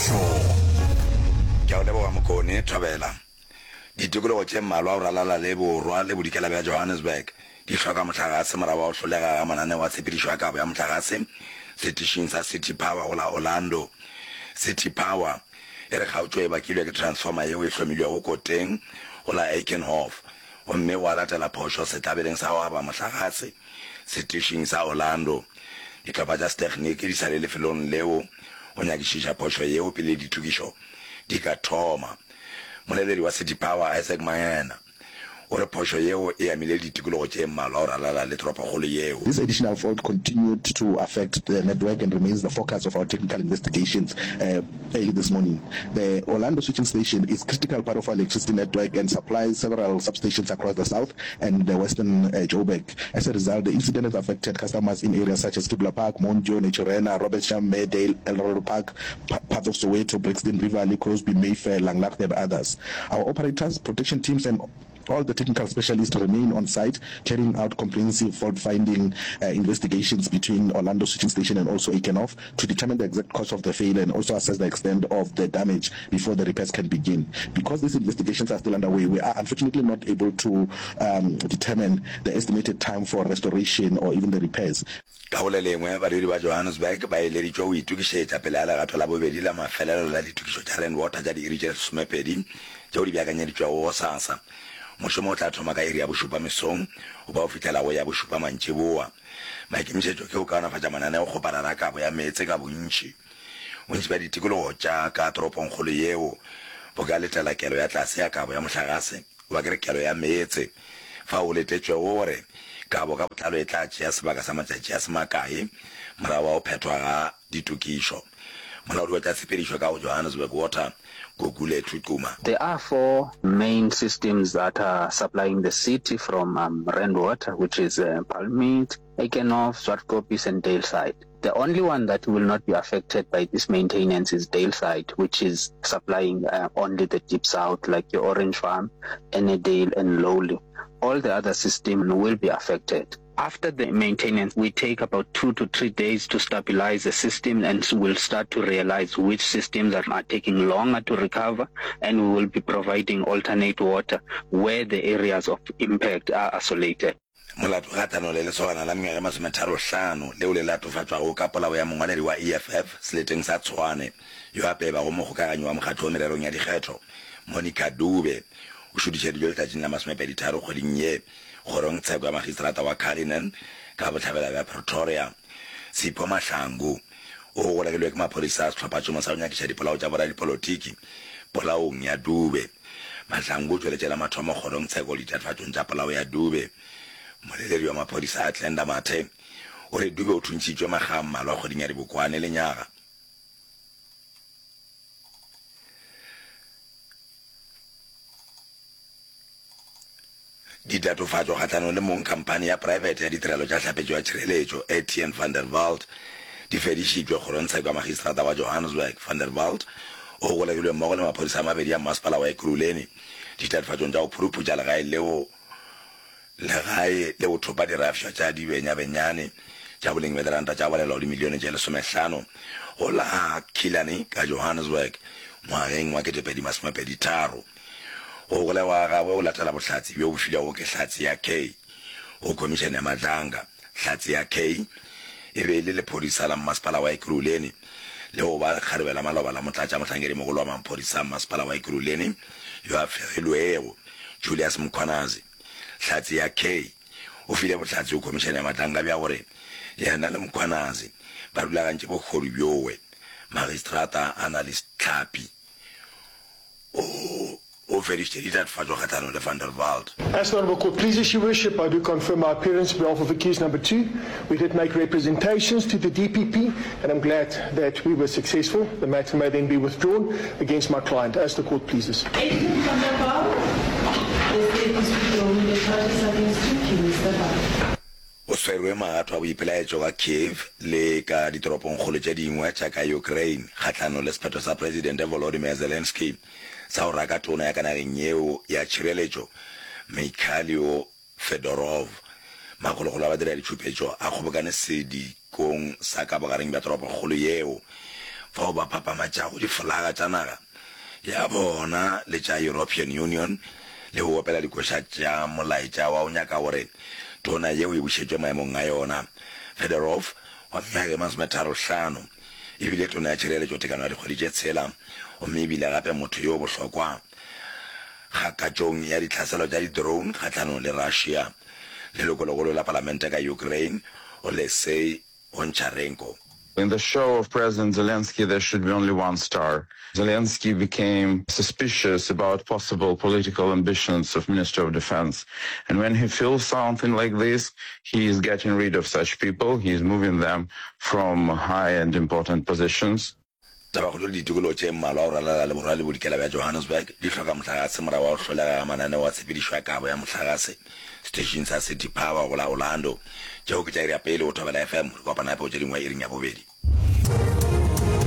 Molaotlhomo. Ke a go leboga Mokone Thobela. Ditikologo tše mmalwa go ralala le borwa le bodikela bja Johannesburg di hloka mohlagase morago ga go hlolega ga mananeo a tshepedišo ya kabo ya mohlagase setišing sa City Power go la Orlando. City Power e re kgaotšo e bakilwe ke transformer yeo e hlomilwego koteng go la Eikenhof gomme gwa latela phošo setlabeleng sa go aba mohlagase setišing sa Orlando. Dihlopha tša setegniki di sa le lefelong leo go nyakišiša phošo yeo pele ditokišo di ka thoma. Moleledi wa City Power Isaac Mangena o re phošo yeo e amile ditikologo tše mmalwa go ralala le toropokgolo yeo. This additional fault continued to affect the network and remains the focus of our technical investigations early this morning. The Orlando switching station is critical part of our electricity network and supplies several substations across the south and the western Joburg. As a result, the incident has affected customers in areas such as Kibla Park, Mondio, Naturena, Robertsham, Meadale, Eldorado Park, parts of Soweto, Brixton, Riverlea, Crosby, Mayfair, Langlaagte and others. Our operators, protection teams and all the technical specialists remain on site carrying out comprehensive fault-finding uh, investigations between Orlando Switching Station and also Eikenhof to determine the exact cause of the failure and also assess the extent of the damage before the repairs can begin. Because these investigations are still underway, we are unfortunately not able to um, determine the estimated time for restoration or even the repairs. Ka go le lengwe, badudi ba Johannesburg ba eleditšwe go itokišetša pele ga legato la bobedi la mafelelo la ditokišo tša Rand Water tša diiri tše lesomepedi tšeo di beakanyeditšwego gosasa. Mošomo o tla thoma ka iri ya bošupa mesong go ba go fihlela go ya bošupa mantšiboa. Maikemišetšo ke go kaonafatša mananeokgoparara a kabo ya meetse ka bontši. Bontši bja ditikologo tša ka toropongkgolo yeo bo ka letela kelo ya tlase ya kabo ya mohlagase, goba ke re kelo ya meetse, fao go letetšwego gore kabo ka botlalo e tla tšea sebaka sa matšatši a se makae morago ga go phethwa ga ditokišo. Molaodi wa tša tshepedišo ka go Johannesburg Water, Gugulethu Quma. There are four main systems that are supplying the city from Rand Water, which is Palmiet, Eikenhof, Zwartkoppies and Daleside. The only one that will not be affected by this maintenance is Daleside, which is supplying uh, only the deep south, like your Orange Farm, Ennerdale and Lowly. All the other systems will be affected. After the maintenance, we take about two to three days to stabilize the system and we'll start to realize which systems are, are taking longer to recover and we will be providing alternate water where the areas of impact are isolated. Molato kgahlanong le lesogana la mengwaga e masometharohlano leo le latofatšwago ka polao ya mongwaledi wa EFF seleteng sa Tshwane yo a pebago mokgokaganyi wa mokgatlo wo mererong ya dikgetho, Monica Dube, o šutišeditšwe letšatšing la masomepeditharo kgweding ye kgorongtsheko ya magistrata wa Cullinan ka bohlabela bja Pretoria. Sipho Mahlangu o golegilwe ke maphodisa a sehlophatšhomo sa go nyakiša dipolao tša boradipolotiki polaong ya Dube. Mahlangu o tšweletše la mathomo kgorongtsheko ditatofatšong tša polao ya Dube. Mmoleledi wa maphodisa a Glenda Mathe o re Dube o thuntšhitšwe makga a mmalwa kgweding ya Dibokwane lenyaga. Ditatofatšo kgahlanong le mong khamphani ya praebete ya ditirelo tša hlapetšo ya tšhireletšo, Etienne van der Walt, di fedišitšwe kgorongtsheko ya magistrata wa Johannesburg. Van der Walt o golegilwe mmogo le maphodisa a mabedi a mmasepala wa Ekurhuleni ditatofatšong tša go phuruphutša legae leo legae le go thopa dirafša tša dibenyabenyane tša boleng bja diranta tša go balelwa go dimilione tše lesomehlano go la Killarney ka Johannesburg ngwageng wa 2023. Go golegwa ga gagwe go latela bohlatse bjo bo filwego ke Hlatse ya K go Khomišene ya Madlanga. Hlatse ya K e be e le lephodisa la mmasepala wa Ekurhuleni le go ba lekgarebe la maloba la motlatšamohlankedimogolo wa maphodisa a mmasepala wa Ekurhuleni yo a fegilwego, Julius Mkhwanazi. Hlatse ya K o file bohlatse go Khomišene ya Madlanga bja gore yena le Mkhwanazi ba rulagantše bohodu bjowe. Magistrata Annalise Tlhapi o o fedišitše ditatofatšo kgahlanong le Van der Walt. As the Honourable Court pleases, Your Worship, I do confirm my appearance on behalf of accused number two. We did make representations to the DPP and I'm glad that we were successful. The matter may then be withdrawn against my client, as the court pleases. Adrian van der Walt, the state is withdrawing the charges against you. Can you step up? Go swerwe magato a boipelaetšo ka Kyiv le ka ditoropongkgolo tše dingwe tša ka Ukraine kgahlanong le sephetho sa Presidente Volodymyr Zelensky sa go raka tona ya ka nageng yeo ya tšhireletšo Mykhailo Fedorov. Makgolokgolo a badiraditšhupetšo a kgobokane sedikong sa ka bogareng bja toropokgolo yeo. fao ba phapamatšago difolaga tša naga ya bona le tša European Union le go opela dikoša tša molaetša wa go nyaka gore tona yeo e bušetšwe maemong a yona. Fedorov, wa mengwaga e masometharo-hlano, e bile tona ya tšhireletšo tekano ya dikgwedi tše tshela gomme e bile gape motho yo bohlokwa kgakatšong ya ditlhaselo tša di-drone kgahlanong le Russia. Lelokolegolo la palamente ka Ukraine, Oleksiy Honcharenko. In the show of President Zelensky there should be only one star. Zelensky became suspicious about possible political ambitions of Minister of Defense. And when he feels something like this, he is getting rid of such people, he is moving them from high and important positions. Tabakgolo le ditikologo tše mmalwa go ralala le borwa le bodikela bja Johannesburg di hloka mohlagase morago ga go hlolega ga mananeo a tshepedišo ya kabo ya mohlagase seteišing sa City Power go la Orlando. Tšeo ke tša iri ya pele go Thobela FM. Re kopana gape go tše dingwe iring ya bobedi.